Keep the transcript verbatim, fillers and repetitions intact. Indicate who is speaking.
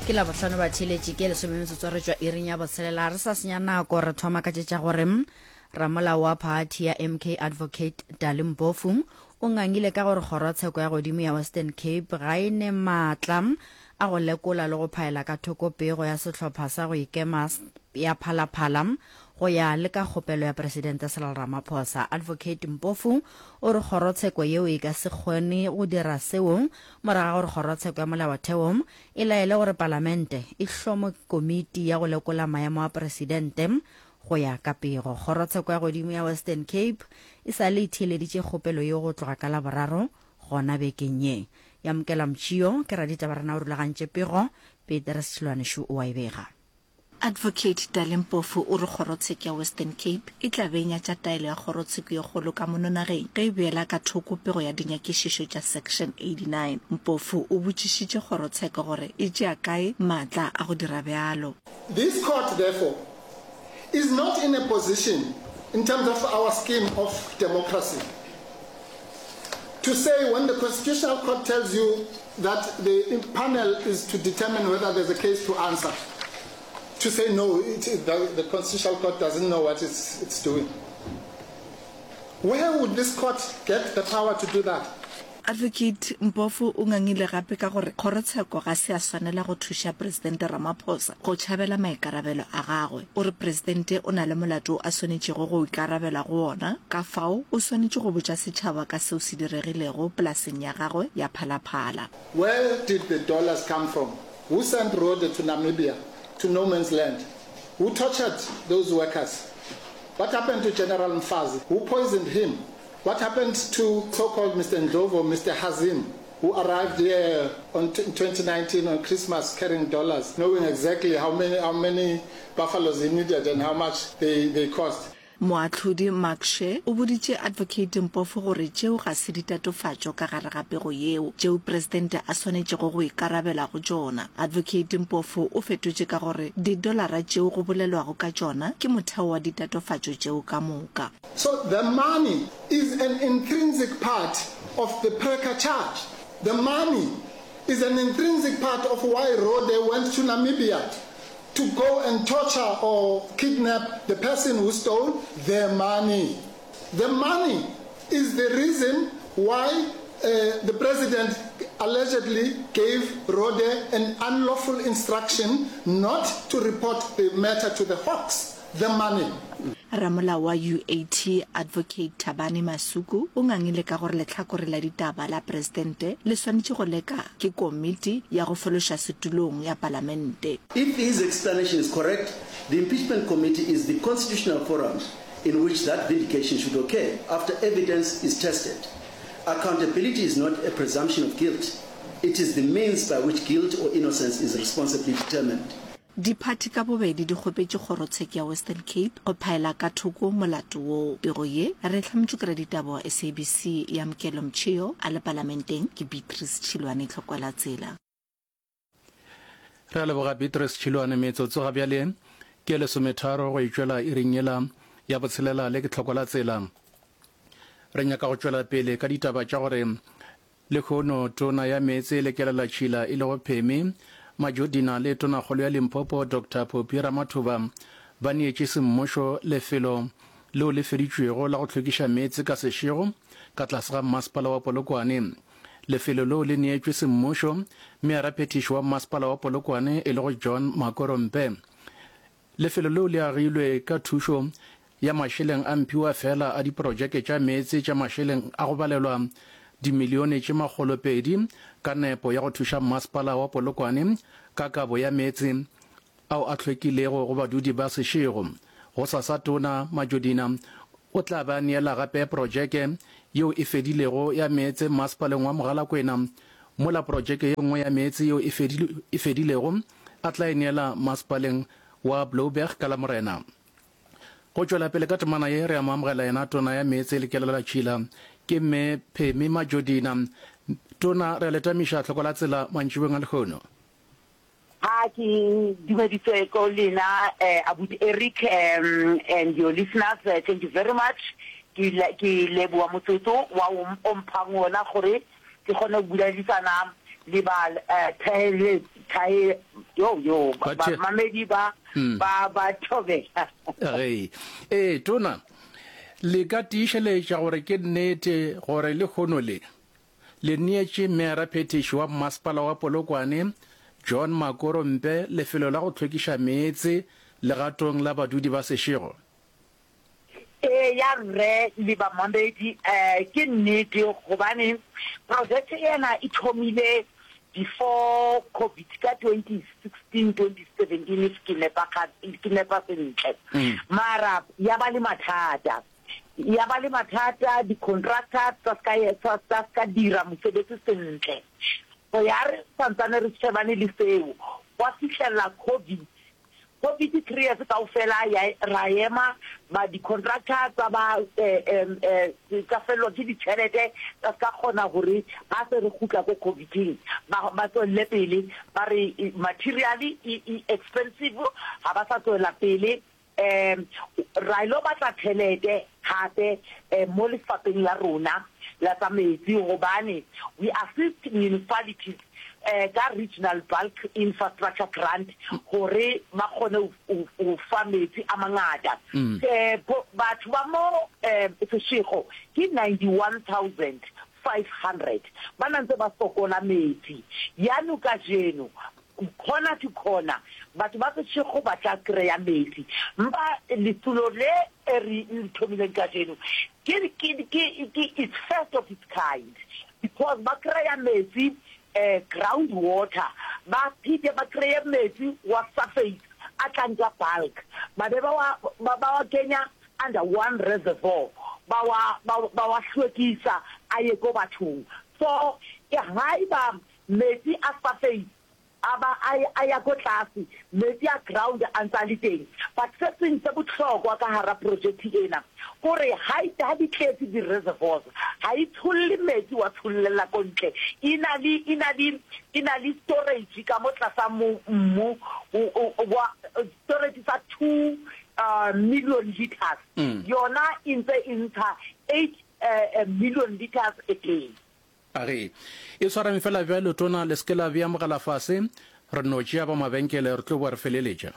Speaker 1: Ke Labohlano batheeletši ke lesome metsotso re tšwa iring ya botshelela re sa senya nako re thoma ka tše tša gore ramolao wa phathi ya M K Advocate Dali Mpofu o ngangile ka gore kgorotsheko ya godimo ya Western Cape ga e ne maatla a go lekola le go phaela ka thoko pego ya sehlopha sa go ikema ya Phalaphala go ya le ka kgopelo ya Presidente Cyril Ramaphosa. Advocate Mpofu o re kgorotsheko yeo e ka se kgone go dira seo morago ga gore kgorotsheko ya molaotheo e laele gore palamente e hlome komiti ya go lekola maemo a presidente. Go ya ka pego, kgorotsheko ya godimo ya Western Cape e sa le e theeleditše kgopelo yeo go tloga ka Laboraro gona bekeng ye. Yamukela Mtšio ke raditaba rena o rulagantše pego, Petrus Tšhilwane o a e bega.
Speaker 2: Advocate Dali Mpofu o re kgorotsheko ya Western Cape e tla be e nyatša taelo ya kgorotsheko ye kgolo ka mono nageng ge e beela ka thoko pego ya dinyakišišo tša Section eighty-nine. Mpofu o botšišitše kgorotsheko gore e tšea kae maatla a go dira bjalo.
Speaker 3: This court therefore is not in a position in terms of our scheme of democracy to say when the Constitutional Court tells you that the panel is to determine whether there's a case to answer, to say no, it, it, the, the Constitutional Court doesn't know what it's, it's doing. Where would this court get the power to do that?
Speaker 2: Advocate Mpofu o ngangile gape ka gore kgorotsheko ga se ya swanela go thuša Presidente Ramaphosa go tšhabela maikarabelo a gagwe. O re presidente o na le molato a swanetšego go ikarabela go wona, ka fao o swanetše go botša setšhaba ka seo se diregilego polaseng ya gagwe ya Phalaphala.
Speaker 3: Where did the dollars come from? Who sent Rode to Namibia, to no man's land? Who tortured those workers? What happened to General Mfazi? Who poisoned him? What happened to so-called Mister Ndlovu, Mister Hazim, who arrived here on t-, twenty nineteen on Christmas carrying dollars, knowing exactly how many, how many buffaloes he needed and how much they, they cost?
Speaker 2: Moahlodi Mark Shea o boditše Advocate Mpofu gore tšeo ga se ditatofatšo ka gare ga pego yeo tšeo presidente a swanetšego go ikarabela go tšona. Advocate Mpofu o fetotše ka gore didolara tšeo go bolelwago ka tšona ke motheo wa ditatofatšo tšeo ka moka.
Speaker 3: So the money is an intrinsic part of the Preca charge. The money is an intrinsic part of why Rode went to Namibia to go and torture or kidnap the person who stole their money. The money is the reason why, uh, the president allegedly gave Rode an unlawful instruction not to report the matter to the Hawks. The money.
Speaker 2: Ramolao wa U A T Advocate Thabani Masuku o ngangile ka gore lehlakore la ditaba la presidente le swanetše go leka ke komiti ya go fološa setulong ya palamente.
Speaker 4: If his explanation is correct, the impeachment committee is the constitutional forum in which that vindication should occur after evidence is tested. Accountability is not a presumption of guilt. It is the means by which guilt or innocence is responsibly determined.
Speaker 2: Diphathi ka bobedi di kgopetše kgorotsheko ya Western Cape go phaela ka thoko molato woo. Pego ye re hlametšwe ke raditaba wa S A B C ya Mkelo Mtšhio a le palamenteng ke Beatrice Tšhilwane Tlhokwela Tsela.
Speaker 5: Re a leboga Beatrice Tšhilwane. Metsotso ga bjale ke lesometharo go itšwela iring yela ya botshelela le ke Tlhokwela Tsela. Re nyaka go tšwela pele ka ditaba tša gore lehono tona ya meetse le kelela tšhila e lego Phemi Majodina le tonakgolo ya Limpopo Doctor Phophi Ramathuba ba neetše semmušo lefelo leo le feditšwego la go hlwekiša meetse ka sešego ka tlase ga mmasepala wa Polokwane. Lefelo leo le neetšwe semmušo mearaphethiši wa mmasepala wa Polokwane e lego John Makorompe. Lefelo leo le agilwe ka thušo ya mašeleng a mphiwa fela a diprojeke tša meetse tša mašeleng a go balelwa dimilione tše makgolo pedi ka nepo ya go thuša mmasepala wa Polokwane ka kabo ya meetse ao a hlwekilego go badudi ba sešego. Go sasa tona Majodina o tla ba neela gape projeke yeo e fedilego ya meetse mmasepaleng wa Mogalakwena, mola projeke ye nngwe ya meetse yeo e fedile, e fedilego a tla e neela mmasepaleng wa Blouberg ka Lamorena. Go tšwela pele ka temana ye re a mo amogela yena tona ya meetse le kelela tšhila ke mme Phemi Majodina. Tona, re a letamiša tlhoko la tsela mantšibeng a lehono.
Speaker 6: Ha ke dumeditse ko lena, eh, Abuti Eric, um, and your listeners, uh, thank you very much. Ke le-, ke leboha motsotso wa o, o mphang ona gore ke kgone go buledisana le ba thaele thae yo yo bamamedi ba ba ba thobela.
Speaker 5: Ge ee tona le ka tiišeletša gore ke nnete gore lehono le le neetše meyara phethiši wa mmasepala wa Polokwane John Makorompe lefelo la go hlwekiša meetse legatong la badudi ba Seshego?
Speaker 6: Eya rre le bamamedi, ke nnete gobane project ena e thomile before covid ka twenty sixteen twenty seventeen if ke nepa ke nepa sentle, mara ya ba le mathata, ya ba le mathata di-contractor tsa ska tsa ska dira mosebetsi sentle. So ya re santsane re shebane le seo gwa fihlela covid. Covid three years kaofela ya ra ema ba di-contractor tsa ba tsa fellwa ke ditjhelete tsa ska kgona hore ha se re kgutla ko coviding ba ba tswelle pele ba re material e e expensive ha ba sa tswela pele. Um ra ilo batla tjhelete hape mo lefapeng la rona la tsa metsi gobane we assist municipalities ka regional bulk infrastructure grant hore ba kgone ho fa metsi a mangata. Batho ba mo Seshego ke ninety one thousand five hundred ba na ntse ba sokola metsi. Yano kajeno corner to corner batho ba Seshego ba tla kry-a metsi. Mpa letsholo le e re le thomileng kajeno ke ke ke ke it's first of its kind because ba kry-a metsi ground water ba phete ba kry-e metsi wa surface a tlang ka bulk ba be ba wa ba wa kenya under one reservoir ba wa ba wa hlwekisa a ye ko bathong. So haeba metsi a surface a ba a ya ko tlase, metsi a ground a ntse a le teng. But se seng se bohlokwa ka hara project ena kore ha ha di tletse di-reservoirs ha e tsholle metsi wa tshollela ko ntle, e na le e na le e na le storage ka mo tlasa mmu wa storage sa two million liters, yona e ntse e ntsha eight million liters a day.
Speaker 5: A re e swareng fela bjalo tona, le se ke la bea mogala fase, re no tšea ba mabenkele re tlo boa re feleletša.